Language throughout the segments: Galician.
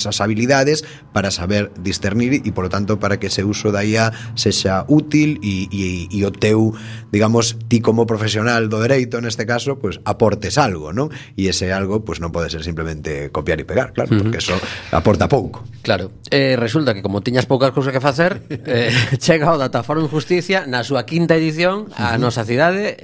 esas habilidades para saber discernir e, polo tanto, para que ese uso da IA sexa útil e o teu, digamos, ti como profesional do dereito, neste caso, pues aportes algo, non? E ese algo, pues non pode ser simplemente copiar e pegar, claro, porque eso aporta pouco. Claro, resulta que como tiñas poucas cousas que facer, chega o Dataforum Justicia na súa quinta edición a nosa cidade,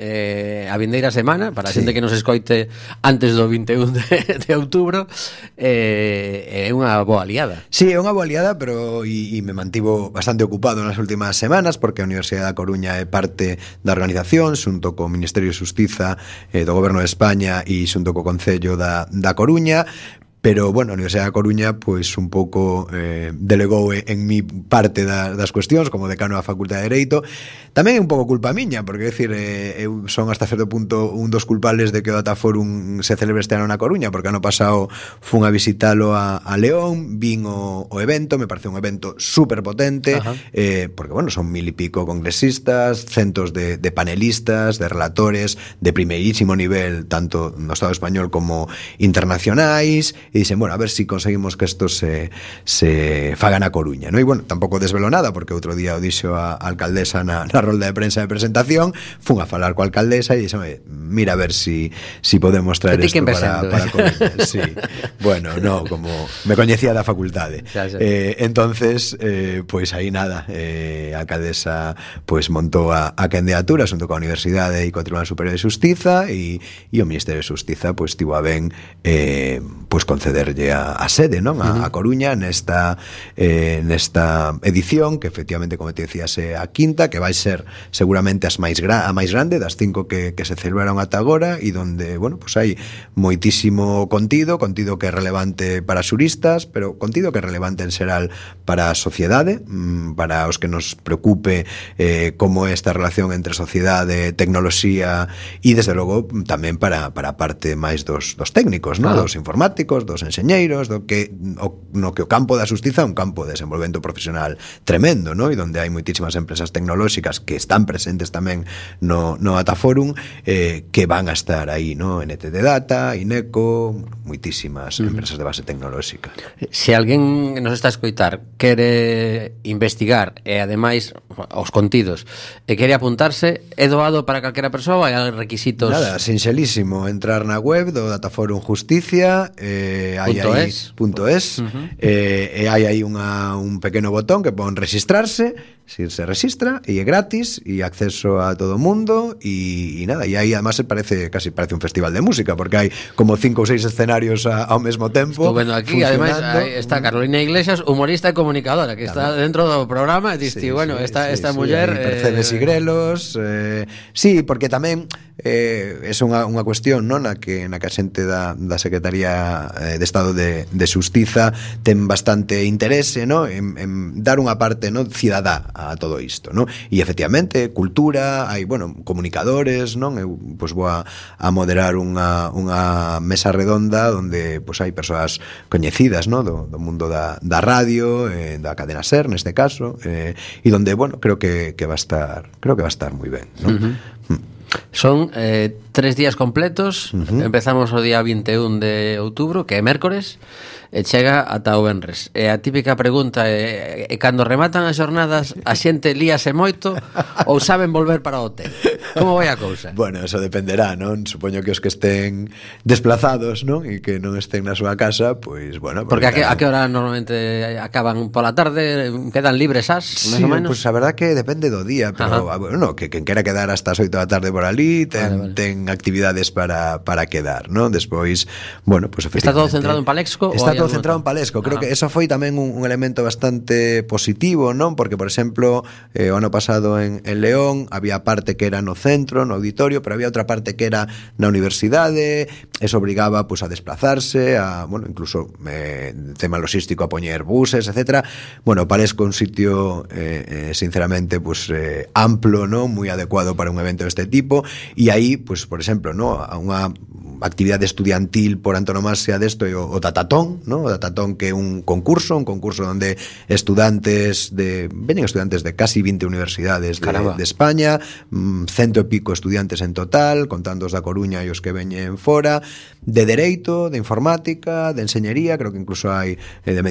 a vindeira semana, para a xente que nos escoite antes do 21 de outubro, é unha boa aliada. Sí, é unha boa aliada, pero e me mantivo bastante ocupado nas últimas semanas, porque a Universidade da Coruña é parte da organización, xunto co Ministerio de Xustiza do Goberno de España e xunto co Concello da Coruña. Pero, bueno, a Universidade da Coruña, pois, un pouco delegou en mi parte das cuestións, como decano da Facultade de Dereito. Tamén é un pouco culpa miña, porque, decir, eu son hasta certo punto un dos culpables de que o Dataforum se celebre este ano na Coruña, porque ano pasado fun a visitalo a León, vin o evento, me parece un evento super potente, porque, bueno, son 1000 e pico congresistas, centos de panelistas, de relatores, de primeirísimo nivel, tanto no Estado español como internacionais, e dicen, bueno, a ver si conseguimos que isto se faga na Coruña, ¿no? E, bueno, tampouco desvelo nada, porque outro día o dixo a alcaldesa na rolda de prensa de presentación, fun a falar coa alcaldesa e dixo, mira a ver si podemos traer isto para Coruña. Sí. Bueno, no, como me coñecía da facultade. Entonces, pois aí nada, a alcaldesa pois montou a candidatura xunto coa Universidade e co Tribunal Superior de Xustiza e o Ministerio de Xustiza pois tivo a ben pois concederlle a sede, non? A Coruña nesta edición, que efectivamente, como te decías, é a quinta, que vai ser seguramente a máis grande das 5 que se celebraron ata agora, e donde, bueno, pues hai moitísimo contido que é relevante para xuristas, pero contido que é relevante en xeral para a sociedade, para os que nos preocupe como é esta relación entre sociedade, tecnoloxía, e desde logo tamén para a parte máis dos técnicos, non? Dos informáticos, dos enxeñeiros, no que o campo da xustiza é un campo de desenvolvemento profesional tremendo, ¿no? E donde hai moitísimas empresas tecnolóxicas que están presentes tamén no Dataforum, que van a estar aí, ¿no? NTT Data, INECO, moitísimas empresas de base tecnolóxica. Se alguén nos está a escoitar quere investigar e ademais os contidos e quere apuntarse, é doado para calquera persoa? Hai requisitos? Nada, sinxelísimo, entrar na web do Dataforum Justicia, .es, e hai aí un pequeno botón que pon registrarse, se registra e é gratis e acceso a todo o mundo e nada, e aí además casi parece un festival de música, porque hai como 5 ou 6 escenarios ao mesmo tempo. Estou vendo aquí, ademais está Carolina Iglesias, humorista e comunicadora, que está dentro do programa e diste, bueno, esta muller Percebes e Grelos, sí, porque tamén é unha cuestión, non, na que a xente da Secretaría de Estado de Xustiza ten bastante interese, non, en dar unha parte, non, cidadá a todo isto, non? E efectivamente, cultura, hai, bueno, comunicadores, non? Eu pois vou a moderar unha mesa redonda onde pois hai persoas coñecidas, non? Do mundo da radio, da cadena SER neste caso, e onde, bueno, creo que va a estar moi ben, non? Son 3 días completos. Empezamos o día 21 de outubro, que é mércores, e chega ata o venres. E a típica pregunta é cando rematan as xornadas a xente líase moito ou saben volver para o hotel? Como vai a cousa? Bueno, eso dependerá, non? Supoño que os que estén desplazados, non? E que non estén na súa casa, pois, bueno, porque a que hora normalmente acaban pola tarde? Quedan libres máis ou menos? Pois a verdad que depende do día, pero bueno, que quen quera quedar hasta as 8 da tarde por ali ten actividades para quedar, non? Despois, bueno, pues efectivamente. Está todo centrado en Palexco? Está todo centrado en Palexco. Creo que eso foi tamén un elemento bastante positivo, non? Porque, por exemplo, o ano pasado en León había parte que era no centro, no auditorio, pero había outra parte que era na universidade. Eso obrigaba pues a desplazarse, bueno, incluso tema logístico, a poñer buses, etcétera. Bueno, Palexco é un sitio sinceramente pues amplo, ¿no? Moi adecuado para un evento deste tipo, e aí, pues, por exemplo, ¿no? actividade estudiantil por antonomasia desto é o Datatón, ¿no? O Datatón, que é un concurso onde veñen estudantes de casi 20 universidades de España, 100 e pico estudiantes en total, contando os da Coruña e os que veñen fora, de Dereito, de Informática, de Enseñería, creo que incluso hai de